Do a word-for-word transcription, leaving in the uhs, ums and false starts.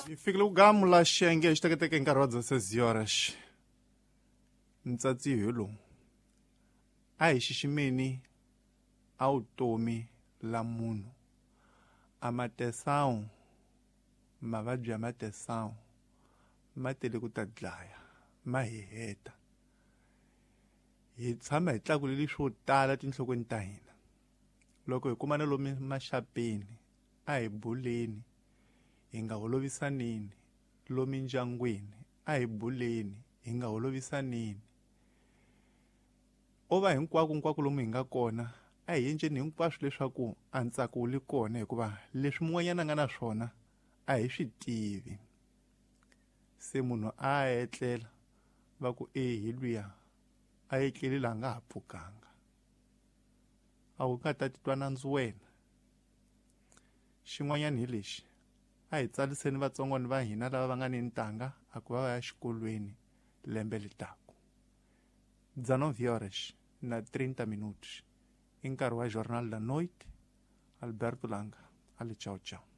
Hi fikile ku gamula xiyenge xi teketeke hi nkarhi wa dezesseis horas. Ntsatsi hi lowu a hi xiximeni a vutomi la munhu a matesawu mavabyi ya matesawu ma tele ku ta dlaya ma hi heta hi tshama hi tlakuleli swo tala tinhlokweni ta hina loko hi kumana lomu maxapeni a hi buleni hi nga holovisanini lomu ndyangwini a hi buleni hi nga holovisanini o va hinkwako hinkwako lomu hi nga kona a hi endleni hinkwaswo leswaku a ntsako wu le kona hikuva leswi mun'wanyana a nga na swona a hi swi tivi se munhu a etlela va ku e hi luya a etleli laha nga ha pfukanga a wu nga ta titwa nandzu wena xin'wanyana hi lexi a hi tsaliseni vatsongwana va hina lava va nga ni ntanga a ku va va ya xikolweni lembe litaku dezenove horas na trinta minutos i nkarhi wa Jornal da Noite. Alberto Langa ali tchau tchau.